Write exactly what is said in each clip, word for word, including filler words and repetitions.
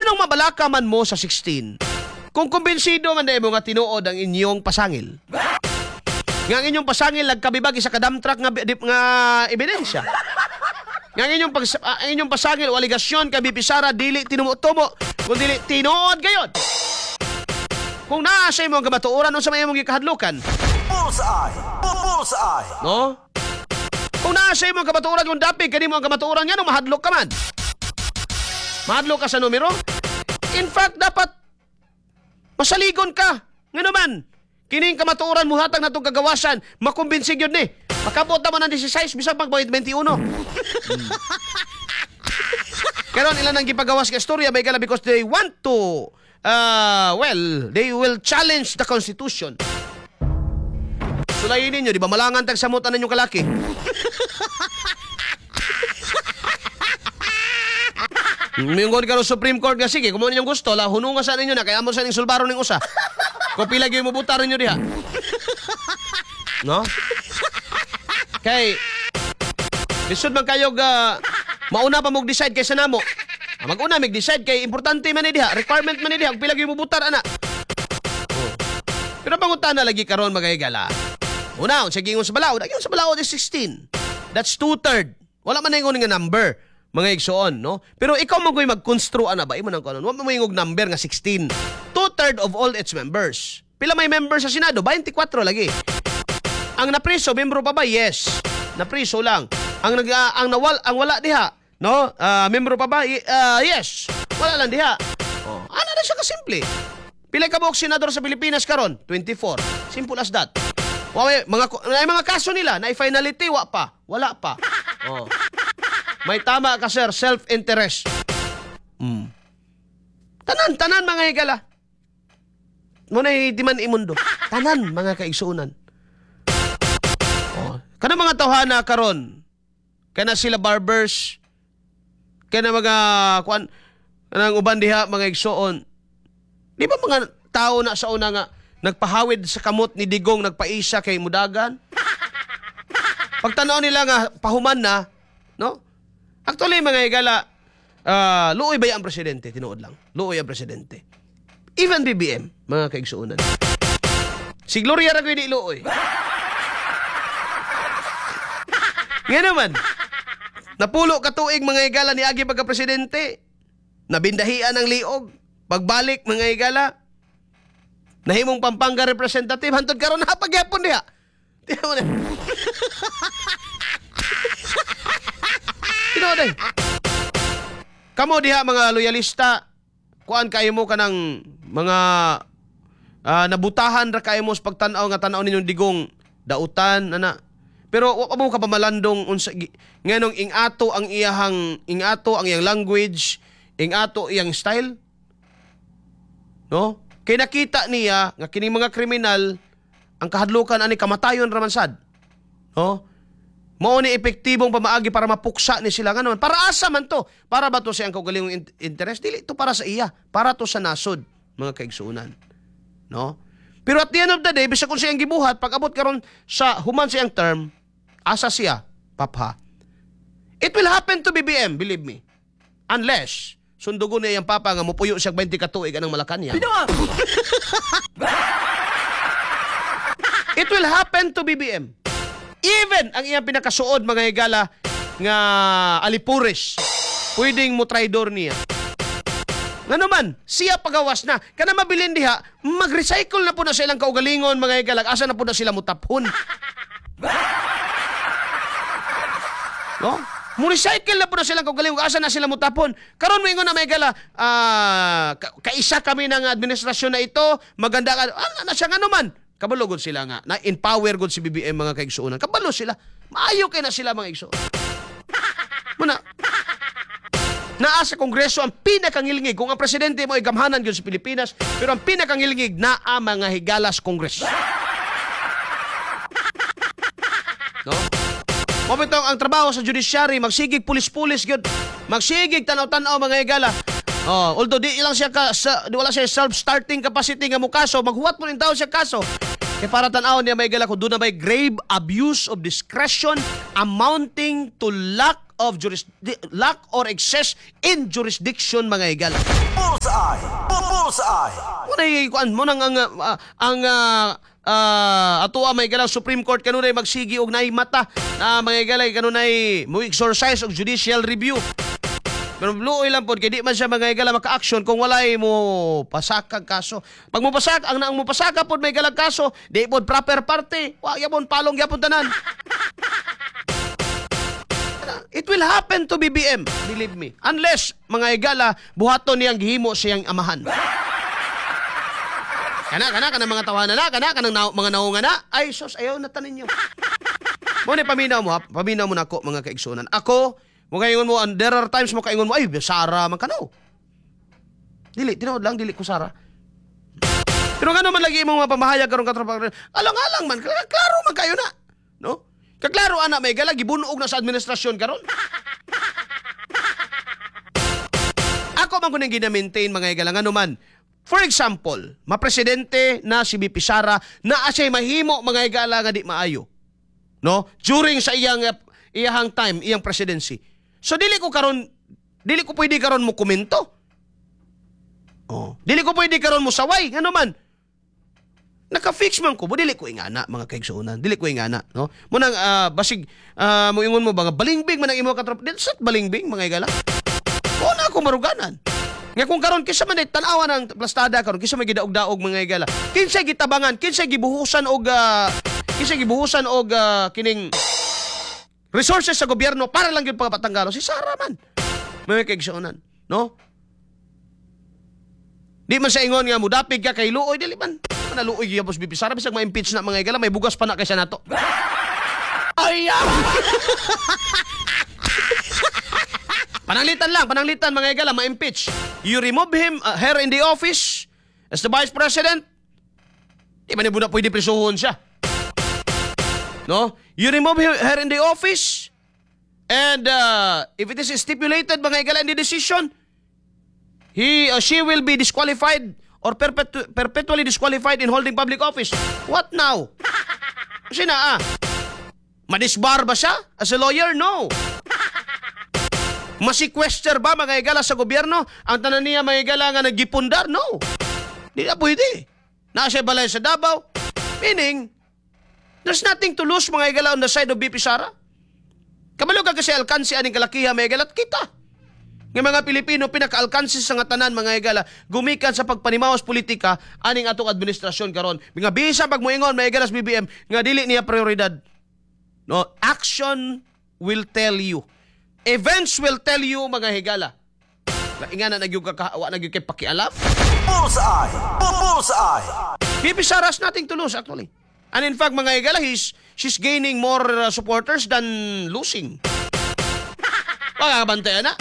Nganong mabalaka man mo sa sixteen? Kung kumbinsido man mo nga tinuod ang inyong pasangil. Nga ang inyong pasangil nagkabibag sa ka-dump truck nga, di- nga ebidensya. Nga ang inyong, pag, ah, ang inyong pasangil o alegasyon kay V P Sara dili tinumo-tumo kung dili tinuod gayod. Kung naa sa imong kamatuoran, unsa may imong gikahadlukan? Bullseye! Bullseye! No? Kung naa sa imong kamatuoran, kung dapig kanimo ang kamatuoran, nga mahadlok ka man? Mahadlok ka sa numero? In fact, dapat masaligon ka. Nga naman, kining kamatuoran muhatag na itong kagawasan, makumbinsi yun ni. Makabot naman ang labing-sais, bisag pag labing-walo. Hmm. Karon ilan ang gipagawas ka istorya may gala because they want to uh, well, they will challenge the Constitution. Sulayin ninyo, di ba? Malangan tag samutan ninyong kalaki. Mingon karon Supreme Court nga sige, kung mo ninyong gusto, la hununga sa ninyo na kaya mo sa ning sulbaro ning usa. Kung pila gyud mo butar ninyo diha. No? Kay lisod man kayo uh, mauna pa mo decide kaysa namo. Ah, mag-una mig decide kay importante man ni diha, requirement man ni diha, kung pila gyud mo butar ana. Oh. Pero pangutana lagi karon, mga higala. Una, unsa gingon sa balaod? Ang sa balaod is sixteen. That's two-third. Wala man ingon nga number, mga igsoon, no? Pero ikaw mo mag-constru ana ba? Imo nang kanon. Wa mo moingog number nga sixteen. Two-third of all its members. Pila may members sa Senado? twenty-four lagi. Ang napriso, membro pa ba? Yes. Napriso lang. Ang nag ah, ang nawal ang wala diha, no? Ah, membro pa ba? Y- ah, yes. Wala lang diha. Oh, ano na siya kasimple. Pila ka buok senador sa Pilipinas karon? twenty-four. Simple as that. Wa may mga ay mga kaso nila na finality wa pa. Wala pa. Oh. May tama ka, sir, self-interest. Mm. Tanan, tanan, mga higala. Muna di man imundo. Tanan, mga kaigsuonan. Oh. Kana mga tawhana karon. Kana sila barbers. Kana mga kuan kanang uban diha, mga igsuon. Di ba mga tao na sa una nga nagpahawid sa kamot ni Digong, nagpaisa kay Mudagan? Pagtanaw nila nga pahuman na, no? Actually, mga higala, ah, luoy ba ang presidente? Tinuod lang. Luoy ang presidente. Even B B M, mga kaigsuonan. Si Gloria ra di luoy. Nga naman, napulo ka tuig, mga higala, ni agi pagka presidente. Nabindahian ang liog. Pagbalik, mga higala, nahimong Pampanga representative hantod karon napagyapon diha. Tinuod mo na. Tinuod ay. Kamo diha, mga loyalista, kuan kayo mo kanang mga ah, nabutahan ra kayo mo sa pagtan-aw nga tan-aw ninyong Digong dautan ana. Pero wa pa mo kapamalandong unsa nganong ingato ang iyahang ingato ang iyang language, ingato iyang style. No? Kay nakita niya nga kining mga kriminal ang kahadlukan ani kamatayon ra man sad. No? Mao ni epektibong pamaagi para mapuksa ni sila nga naman. Para asa man to? Para ba to sa iyang kaugalingong in- interest? Dili to para sa iya, para to sa nasod, mga kaigsuonan. No? Pero at the end of the day, bisag kung siyang gibuhat, pag abot karon sa human sa iyang term, asa siya? Papha. It will happen to B B M, believe me. Unless sundugon niya iyang papa nga mupuyo siya twenty ka tuig anang Malacanang. It will happen to B B M. Even ang iyang pinakasuod, mga higala, nga alipures, pwedeng mo traidor niya. Nga naman, siya pagawas na. Kana mabilin diha, mag-recycle na po na sa ilang kaugalingon, mga higala. Asa na po na sila mutapon? No? Mo-recycle na po na silang kaugalingon. Asa na sila mutapon? Karon moingon na, mga higala, ah, ka- kaisa kami ng administrasyon na ito, maganda ka. Ano na siya nga naman? Kabalo gud sila nga. Na-empower gud si B B M, mga kaigsuonan. Kabalo sila. Maayo kay na sila, mga igsuon. Muna, naa sa Kongreso ang pinakangilngig. Kung ang presidente mo ay gamhanan gyud sa Pilipinas, pero ang pinakangilngig naa mga higalas Kongreso. No? Mao bitong ang trabaho sa judiciary, magsigig pulis-pulis gyud. Magsigig tanaw-tanaw, mga higala. Oh, although di lang siya ka, sa, di wala siya self-starting capacity nga mo kaso, maghuwat mo rin tao siya kaso. Kay para tan-awon niya, may gala, kung doon na may grave abuse of discretion amounting to lack of juris, lack or excess in jurisdiction, mga higala. Bullseye. Bullseye. Muna kuan mo nang ang uh, ang uh, uh, atoa may gala Supreme Court kanunay magsigi og naay mata na mga galay kanunay mo exercise og judicial review. Pero luoy lang pod kay di man siya mga higala maka-action kung walay mo pasakag kaso. Pag mo pasak ang naang mo pasaka pod may galag kaso, di pod proper party. Wa gyapon palong gyapon tanan. It will happen to B B M, believe me. Unless mga higala buhaton niyang gihimo siyang amahan. Kana kana kana mga tawanan na, kana kanang na, mga naunga na. Ay sus, ayaw na tanin niyo. Mo ni paminaw mo, ha? Paminaw mo nako mga kaigsunan. Ako mo kaingon mo, and there are times mo kaingon mo, ay, Sara man ka no. Dili, tinuod lang, dili ko Sara. Pero nga naman lagi imong mga pamahayag karon katropa, alang-alang man, klaro man kayo na. No? Kaklaro ana may gala gibunog na sa administrasyon karon. Ako man kuning gina-maintain mga higala ngano man. For example, mapresidente na si B P Sara na asay mahimo mga higala nga di maayo. No? During sa iyang iyahang time, iyang presidency. So dili ko karon, dili ko pwede karon mo komento. Oh, dili ko pwede karon mo saway, ngano man. Naka-fix man ko, bo dili ko ingana mga kaigsuonan, dili ko ingana, no? Munang uh, basig uh, moingon mo ba nga balingbing man ang imo katropa, dili sa balingbing mga higala. O na ako maruganan. Nga kung karon kinsa man tan-awa ng plastada karon, kinsa may gidaog-daog mga higala. Kinsa gitabangan, kinsa gibuhusan og uh, kinsa gibuhusan og uh, kining resources sa gobyerno para lang yun pagpatanggalo. Si Sara man. May kaigsuonan, no? Di man sa ingon nga mudapig ka kay luoy, dili man. Naluoy gyud boss B P Sara bisag ma-impeach na mga higala, may bugas pa na kaysa nato. Ay! Pananglitan lang, pananglitan mga higala, ma-impeach. You remove him, uh, her in the office as the vice president. Di man na pwede prisuhon siya. No? You remove her in the office and uh, if it is stipulated mga higala in the decision, he or she will be disqualified or perpetu perpetually disqualified in holding public office. What now? Kasi na ah, madisbar ba siya as a lawyer? No. Masequester ba mga higala sa gobyerno? Ang tanan niya mga higala nga nagipundar? No. Di na pwede. Naa siya balay sa Davao. Meaning, there's nothing to lose mga higala on the side of B P Sara. Kabalo ka kasi alkansi aning kalakiha mga higala at kita. Nga mga Pilipino pinaka-alkansi sa nga tanan mga higala gumikan sa pagpanimawas politika aning atong administrasyon karon. Mga bisa pag moingon mga higala sa B B M nga dili niya prioridad. No, action will tell you. Events will tell you mga higala. Ingana nagyug ka wa nagyug kay pakialam. Bullseye. Bullseye. B P Sara has nothing to lose actually. And in fact, mga higala, he's, she's gaining more uh, supporters than losing. Pagkabantayan na.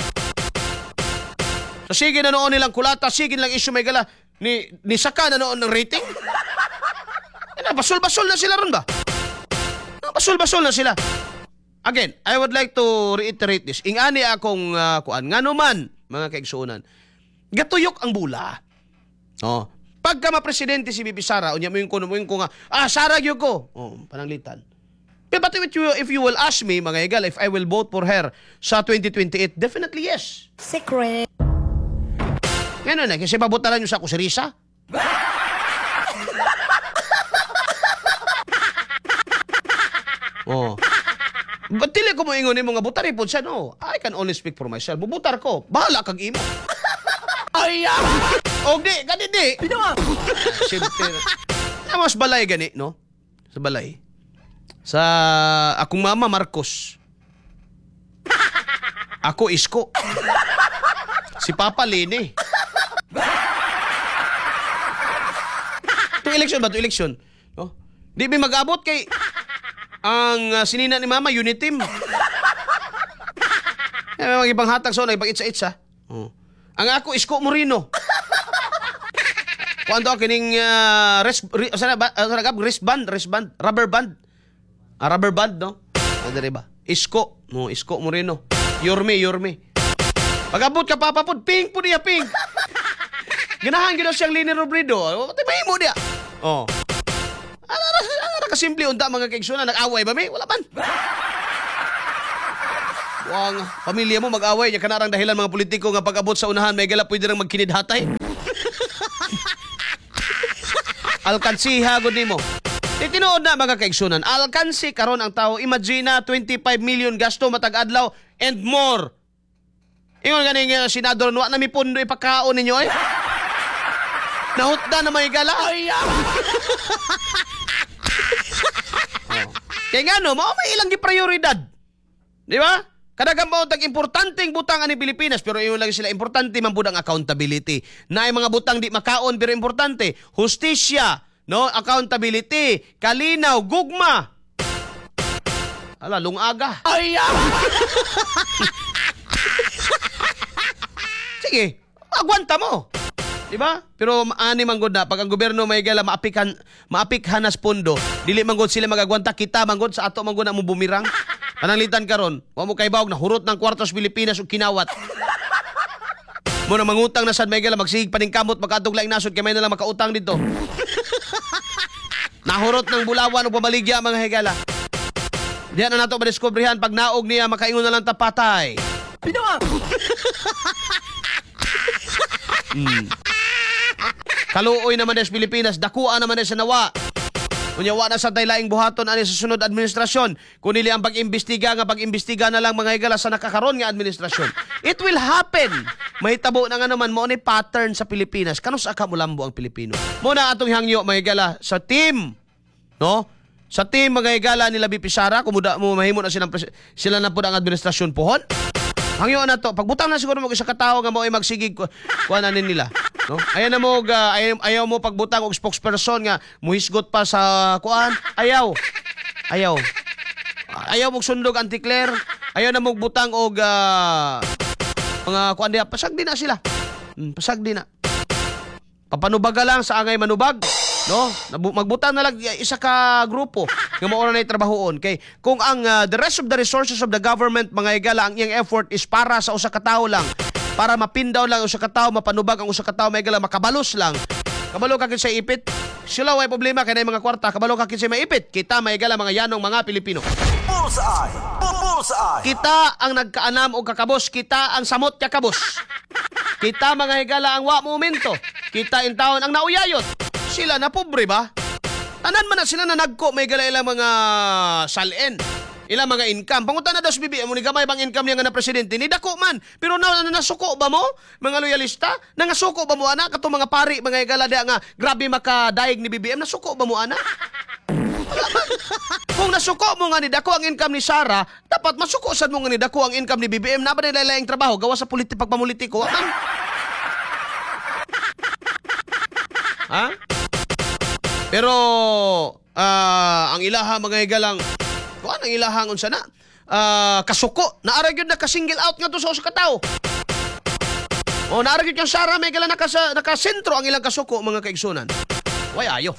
So, sige na noon nilang kulata, sige nilang issue, mga higala, ni, ni Saka na noon ng rating. Ano, basul-basul na sila ron ba? Basul-basul na sila. Again, I would like to reiterate this. Ingani akong uh, kuan. Ngano man, mga kaigsuonan, gatuyok ang bula. Oh. Pagka ma-presidente si B P Sara, unya mo yung kuno mo yung ko nga, ah, Sara gyud ko. Oh, pananglitan. Pero but if you, if you will ask me, mga higala, if I will vote for her sa twenty twenty-eight, definitely yes. Secret. Ngayon na, kasi pabutalan nyo sa ako si Risa. Oh. But dili ko mo ingon nimo nga butar po siya, no. I can only speak for myself. Bubutar ko. Bahala kag imo. Ay! Og di, gani di. Siyempre. Mas balay gani, no? Sa balay. Sa akong mama, Marcos. Ako, Isko. Si Papa, Lene. Itong election ba? Itong election. No? Di may mag-abot kay ang uh, sinina ni Mama, unit team. Eh, may mga ibang hatag sa so, ibang itsa-itsa. Oh. Ang ako, Isko Moreno. Kuan to kining uh, wrist ri, sana ba uh, sana gab wristband, wristband, rubber band. Ah, rubber band, no? Ano ba? Isko, no, Isko Moreno. Yorme, Yorme. Pag-abot ka papa pod, pink po niya, pink. Ganahan gyud siyang Leni Robredo. Ti mahimo diya. Oh. Ana ra ana ra kasimple unta mga kaigsunan, nag-away ba mi? Wala man. Wang pamilya mo mag-away nya kanarang dahilan mga politiko nga pag-abot sa unahan may gala pwede rang magkinidhatay. Alkansiha gud nimo. Di tinuod na, mga kaigsunan, alkansi karon ang tao. Imagine na twenty-five million gasto matag adlaw and more. Ingon ganing uh, senador, wa na mi pundo ipakaon ninyo eh. Nahutda na may gala. Ay, oh. Kaya nga no, mao may ilang giprioridad. Di ba? Kadagan ba tag importanteng butang ani Pilipinas, pero ingon lagi sila importante man pud ang accountability. Naay mga butang di makaon pero importante, hustisya, no? Accountability, kalinaw, gugma. Ala, lungaga. Ay! Sige, agwanta mo. Di ba? Pero ani man gud na pag ang gobyerno may gala maapikan maapikhanas pondo, dili man gud sila magagwanta, kita man gud sa ato man gud na mo bumirang. Pananglitan karon, wa mo kay bawog na hurot ng kwartos Pilipinas ug kinawat. Mo na mangutang na sad may gala magsigig paningkamot makadtog laing nasod kay may na lang makautang dito. Nahurot ng bulawan ug pamaligya, mga higala. Diyan na nato madiskubrihan pag naog niya makaingon na lang ta patay. Pinoa. Mm. Kaluoy naman sa Pilipinas, dakuan naman sa nawa. Unya wa na sa tay laing buhaton ani sa sunod administrasyon. Kun nili ang pag-imbestiga nga pag-imbestiga na lang, mga higala, sa nakakaron nga administrasyon. It will happen. Mahitabo na nga naman mo ni pattern sa Pilipinas. Kanus aka mulambo ang Pilipino. Muna atong hangyo, mga higala, sa team, no? Sa team, mga higala, nila V P Sara, kumuda mo mahimo na silang sila na pud ang administrasyon pohon. Hangyo na to, pagbutang na siguro mo isa ka tawo nga mao'y magsigig kuan na nila, no? Ayaw na mo uh, ayaw, ayaw mo pagbutang og spokesperson nga muhisgot pa sa kuan, ayaw. Ayaw. Ayaw mo sundog anti-Claire, ayaw na mo butang og uh, mga kuan diha, pasag di na sila. Hmm, pasag di na. Papanubaga lang sa angay manubag, no? Magbutang na lang isa ka grupo nga mao na trabahoon kay kung ang uh, the rest of the resources of the government, mga higala, ang iyang effort is para sa usa ka tawo lang, para mapindaw lang usa ka tawo, mapanubag ang usa ka tawo, mga higala, makabalos lang. Kabalo ka kinsa ipit, sila way problema kay nay mga kwarta, kabalo ka kinsa maipit. Kita, mga higala, mga yanong mga Pilipino. Bullseye! Bullseye! Kita ang nagkaanam og kakabos, kita ang samot kakabos. Kita, mga higala, ang wa momento. Kita in taon ang nauyayot. Sila na pobre ba? Tanan man na sila na nagko may gala ilang mga salin, ilang mga income. Pangutan na daw si B B M, ni gamay bang income niya nga na presidente? Ni dako man. Pero na, na nasuko ba mo, mga loyalista? Nangasuko ba mo ana katong mga pari, mga higala diha nga grabe makadaig ni B B M, nasuko ba mo ana? Kung nasuko mo nga ni dako ang income ni Sara, dapat masuko sad mo nga ni dako ang income ni B B M. Na ba nila laing trabaho gawa sa politi pagpamulitiko? Man. Ha? Pero uh, ang ilaha, mga higalang, kuan ang ilahang unsa na? Uh, kasuko, naara gyud naka-single out nga to sa usa ka tawo. O naara gyud kang Sara may higala naka nakasentro ang ilang kasuko, mga kaigsunan. Way ayo.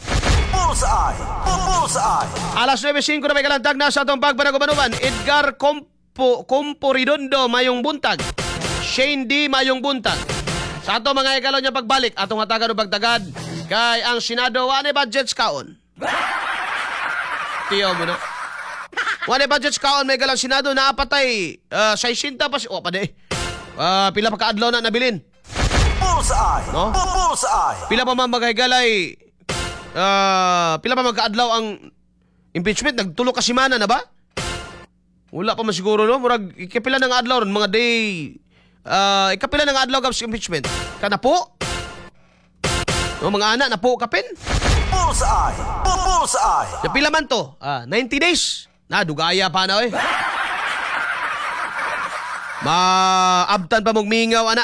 Bullseye! Bullseye! Alas nuwebe singko na may kalantag na sa atong pagpanagubanuban. Edgar Compo, Comporidondo, mayong buntag. Shane D, mayong buntag. Sa ato mga higalaw niya pagbalik, atong hatagan o pagtagad, kay ang Senado, wane budgets kaon. Tiyo mo na. Wane budgets kaon, may galang Senado, naapatay, uh, sixty pa si, oh, pade. Uh, pila pa kaadlaw na nabilin. Bullseye! No? Bullseye! Pila pa man mga higalay, uh, pila pa magkaadlaw ang impeachment, nagtulo ka semana na ba? Wala pa man siguro, no? Murag, ikapila ng adlaw ron, mga day, uh, ikapila ng adlaw sa impeachment. Kanapo? No, mga ana, napo kapin? Bullseye! Bullseye! Sa pila man to? Ah, ninety days. Na, dugaya pa na, oy. Maabtan pa mong mingaw, ana.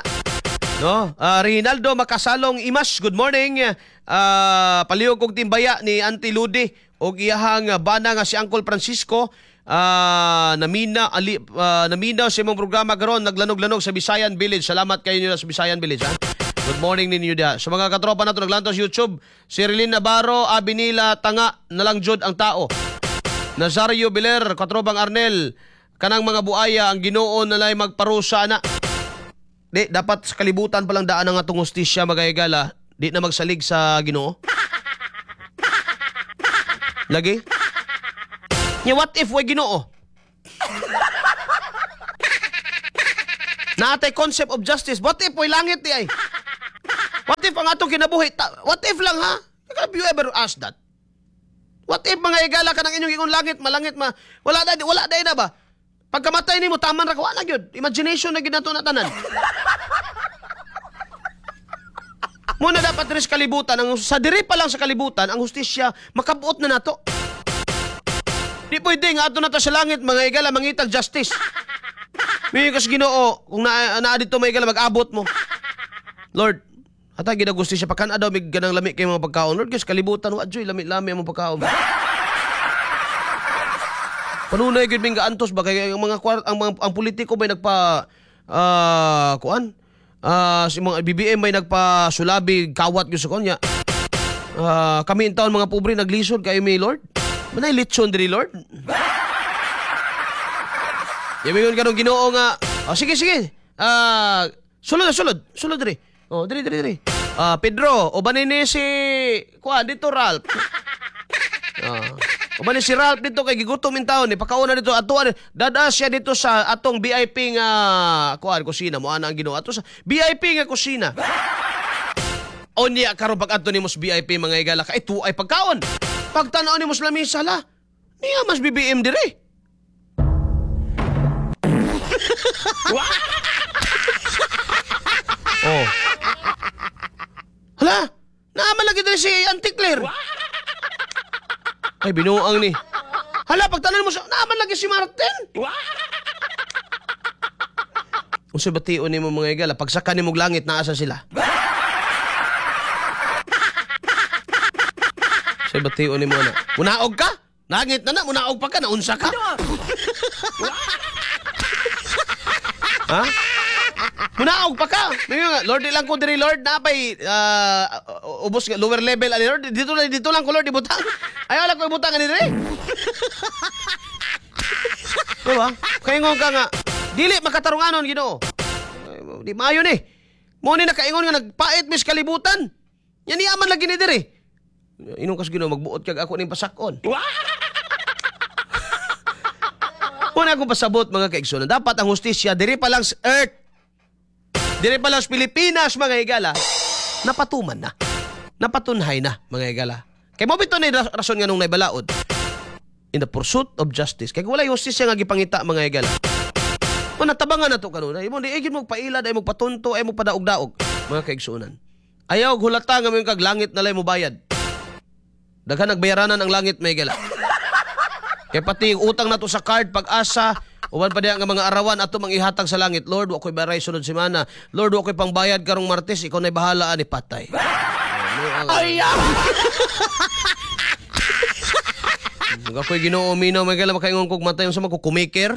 No? Uh, Rinaldo Makasalong Imas, good morning. Uh, palihog kog timbaya ni Auntie Ludi og iyahang bana nga si Uncle Francisco. Uh, namina ali, uh, naminaw sa imong programa karon, naglanog-lanog sa Bisayan Village. Salamat kayo nila sa Bisayan Village, ha? Good morning ninyo diha. Sa mga katropa nato naglantaw sa YouTube, si Rilin Navarro, Abinila Tanga nalang jud ang tao. Nazario Beler, katropang Arnel, kanang mga buaya ang Ginoo nalay magparusa na. Di dapat sa kalibutan palang daan ang atong hustisya, mga higala, di na magsalig sa Ginoo. Lagi? Nya what if way Ginoo? Naatay concept of justice. What if way langit di ay? What if ang atong kinabuhi? Ta- what if lang ha? Have you ever asked that? What if mga igala ka ng inyong ingon langit, malangit, ma, wala na, wala na na ba? Pagkamatay nimo taman ra ka, wala gyud. Imagination na gyud nato na tanan. Muna dapat diri sa kalibutan, ang, sa diri pa lang sa kalibutan, ang hustisya, makabuot na nato. Di pwede nga ato na ta sa langit, mga igala, mangitag justice. May kas Ginoo, kung naa naa dito mga igala, mag-abot mo. Lord, hatag gid ang hustisya, pakan daw mig ganang lami kay mga pagkaon. Lord, guys, kalibutan, wa joy, lami-lami ang mga pagkaon. Panunay gyud ming gaantos ba kay ang mga kwar, ang mga ang politiko may nagpa ah kuan? Ah, si mga B B M may nagpasulabi kawat gyud sa kanya. Ah, kami in taon mga pobre naglisod kay mi, Lord. Manay litson diri, Lord. Yamingon kanong Ginoo nga, oh, sige sige. Ah, sulod sulod, sulod diri. Oh, diri diri diri. Ah, Pedro, uban ni si kuan dito, Ralph. Ah. Uban ni si Ralph dito kay gigutom in taon ni pakauna dito atuan dada siya dito sa atong V I P nga kuan kusina mo ana ang Ginoo ato sa V I P nga kusina. Unya karon pag adto nimo sa V I P, mga igala, kay ito ay pagkaon. Pagtan-aw nimo sa lamisa la. Niya mas B B M dire. Oh. Hala, naaman lagi diri si Auntie Claire. Ay, binuang ni. Hala, pagtanan mo sa... Naaman lagi si Martin. Unsa bation nimo, mga igala, pagsaka nimo og langit, naasa sila? Sa bation nimo na. Munaog ka? Langit na na, munaog pa ka, naunsa ka? Ha? Munaog pa ka. May nga, "Lord, di lang ko diri, Lord, napay uh, ubos nga lower level ani, Lord. Dito lang dito lang ko, Lord, ibutang. Ayaw lang ko ibutang ani diri." Diba? Kaingon ka nga dili makatarunganon, Ginoo. Ay, di maayo ni. Mo ni nakaingon nga nagpait mis kalibutan. Yan niya man lagi ni diri. Inong kas Ginoo, magbuot kag ako ning pasakon. Muna akong pasabot, mga kaigsunan. Dapat ang hustisya diri pa lang sa earth. Diri pa lang sa Pilipinas, mga higala. Napatuman na. Napatunhay na, mga higala. Kay mo bito ni rason nga nung naibalaod. In the pursuit of justice. Kay kung wala hustisya nga gipangita, mga higala. Mo natabangan na to kanunay. Mo di ay mo pailad, ay mo patunto, ay mo padaog-daog, mga kaigsunan. Ayaw hulata nga mo kag langit na lay mo bayad. Daghan nagbayaranan ang langit, mga higala. Kay pati yung utang nato sa card, pag-asa, uban pa diya nga mga arawan ato mang ihatag sa langit. "Lord, wa ko'y baray sunod semana. Lord, wa ko'y pangbayad karong Martes, ikaw na'y bahala ani." Patay. Ay! Mga ako'y Ginoo minaw may gala makaingon kog matay sa magkukumiker.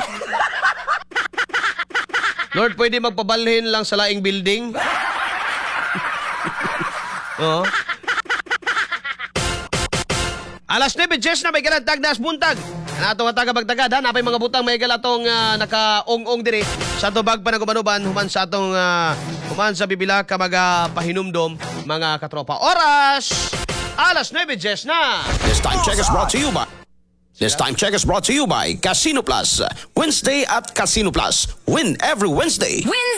"Lord, pwede magpabalhin lang sa laing building?" Oo. Alas nuwebe diyes na may galang tagdas buntag. Na atong taga bagtagad ha, napay mga butang may gala atong uh, naka-ong-ong diri sa tubag pa nagubanuban human sa atong uh, human sa bibila ka mga pahinumdom, mga katropa. Oras alas nuwebe diyes na. This time check is brought to you by This time check is brought to you by Casino Plus. Wednesday at Casino Plus. Win every Wednesday. Wednesday.